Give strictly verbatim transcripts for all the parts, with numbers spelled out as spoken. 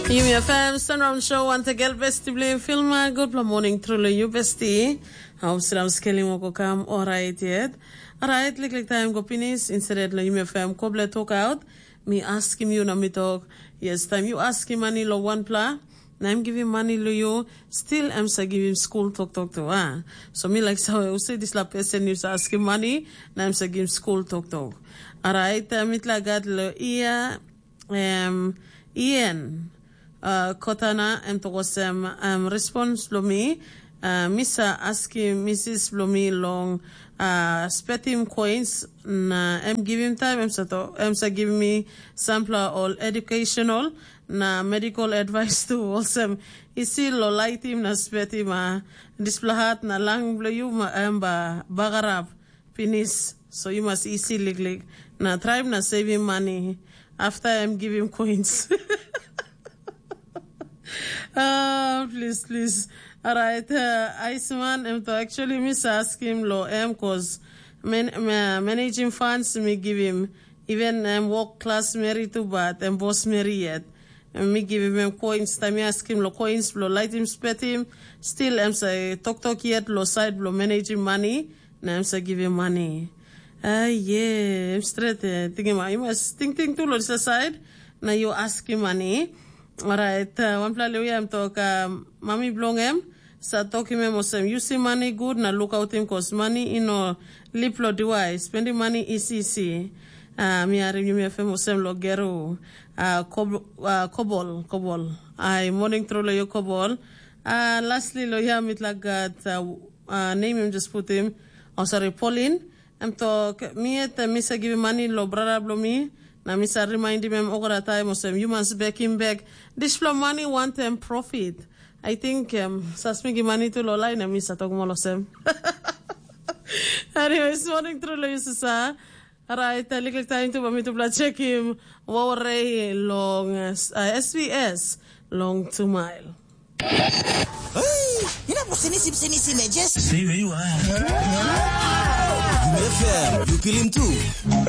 Yumi F M Sunround Show, wantegel besti bilong Filma. Gutpela morning, truly you besti. Hau siram skelim o go kam, orait yet. Orait, liklik taim go pinis, instead lo Yumi F M koble tok out. Mi askim yu na mi tok, yes, taim yu askim mani lo wanpela, na em givim mani lo yu, still em sa givim skul toktok tu, a? So mi laik save, use dispela pesen yu sa askim mani, na em sa givim skul toktok. Orait, mitla gat lo ia, em, Ian, uh, Kotana, em tok olsem, um, respons bilong mi, uh, mi sa askim misis bilong mi long, uh, spetim coins, na em givim taim, em sa, to, em sa givim mi sampela ol educational na medical advice tu, olsem, isi lo laitim na spetim, uh, dispela hat na lang bilong yu, ma, em ba, bagarap. Pinis, so yu mas isi liklik. Na traim na sevim mani. Afta em givim coins. Ah, plis, plis. Orait, uh, Aisman, em to actually mi sa askim lo em, cause men, ma, managing funds mi givim. Even em wok klas meri tu, bat em bos meri yet. Em mi givim em coins, taim mi askim lo coins, lo laitim spetim, still em sa toktok yet lo side lo managing money. Na em sa givim mani. Ai, ye, em stret, eh, tingim, ah, yu mas tingting tu lo disa side, na yu askim mani. Orait, uh, wanpela liu em tok, uh, mami bilong em, sa tokim em olsem, yusim mani gut na lukautim, kos mani i no lip lo diwai, spendim mani isi isi. Uh, mi harim yumi F M olsem lo geru, uh, kob, uh, kobol, kobol. Ai, morning tru lo yu kobol. Uh, lastly, lo ya mitla gat, uh, uh, name em just putim, oh, sorry, Pauline. Em tok, mi yet mi sa givim mani lo brata bilong mi, na mi sa rimaindim em olgeta taim olsem, yu mas bekim bek dispela mani wantaim profit. I think, um, sa smigi mani tu lo lain, na mi sa tok mol olsem. Anyways, morning tru lo yu sasa. Alright, uh, liklik taim tu ba mi tupela chekim Wawarei long, uh, S B S long two mile. Hey, you know, sinisim, sinisim, eh, just Stay where you are. F M, you feel him too.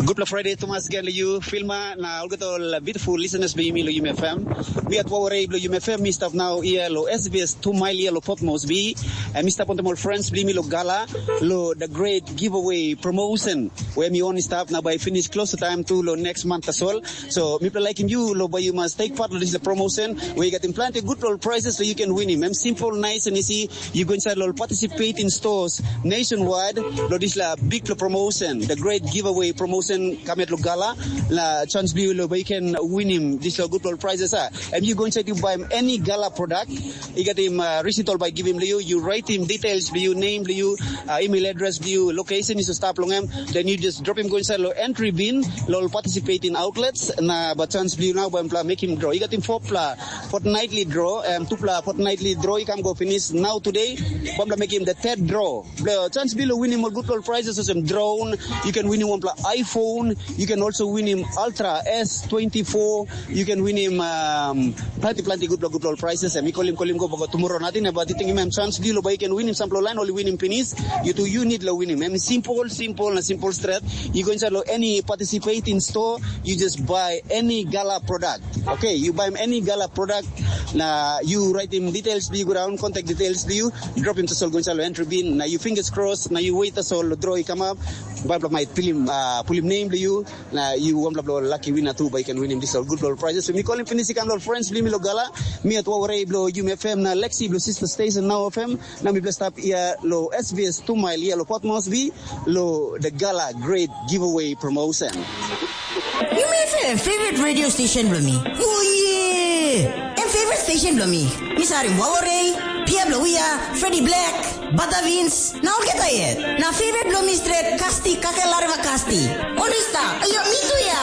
Gutpela Friday tumas gen lo yu, Filma, na olgeta ol beautiful listeners bilong yumi lo Yumi F M. Mi at Wawarei bilong Yumi F M, mi stap nau ia lo S B S two mile ia lo Port Moresby. And mi stap wantaim ol friends bilong yumi lo Gala, lo the great giveaway promotion. Where mi only stap na bai finish close to time tu lo next month tasol. So, mipela laikim yu, lo bai yu mas take part lo dispela promotion, where you getting plenty good lo prizes so you can win him. Em simple, nice and easy. You go inside lo participating stores nationwide, lo dispela big lo promotion, the great giveaway promotion, come at lo Gala, la chance bilong yu lo bai you can win him, dispela good lo prizes, ah. And you go inside, you buy him any Gala product, you get him, uh, receipt all by giving you, you write him details, you name, you, uh, email address, you location, you stop long him, then you just drop him go inside lo entry bin, lo participating outlets, na ba chance bilong yu nau ba mpela mekim draw. I gat him four pla fortnightly draw, um, two pla fortnightly draw i kam go finish now today, ba mpela mekim the third draw. Blo chance bilong winim ol good ol prizes olsem drone, you can winim wanpela iPhone, you can also winim Ultra S twenty-four, you can winim um, planti planti good good ol prizes. Em i kolim kolim go boko tomorrow nating na but i tingim em chance bilong ba you can winim sampela lain ol i winim pinis. You do you need lo winim. Em simple simple na simple straight. You go inside lo any participating store, you just buy any Gala product. Okay, you buy any Gala product, na you write him details bilong you go down, contact details bilong you, drop him to Solgunsa lo entry bin, na you fingers crossed, na you wait tasol lo draw i come up, ba bla mai pulim, uh, pulim name bilong you, na you one bla bla lucky winner too, but you can win him this all good all prizes. So mi call him finish, come lo friends bilong mi lo Gala, mi at Wawarei bilong Yumi F M na Lexi bilong sister station now F M, na mi blessed up here lo S B S two mile here lo Port Moresby, lo the Gala great giveaway promotion. Yumi F M, favorite radio station bilong mi. Oh yeah! Em favorite station bilong mi. Mi sarim Wawarei, Pia bilong Wia, Freddy Black, Bata Vince, na olgeta yet. Na favorite bilong mi stret Kasti, Kake Lareva Kasti. Ol i stap. Ayo, mi tu ya.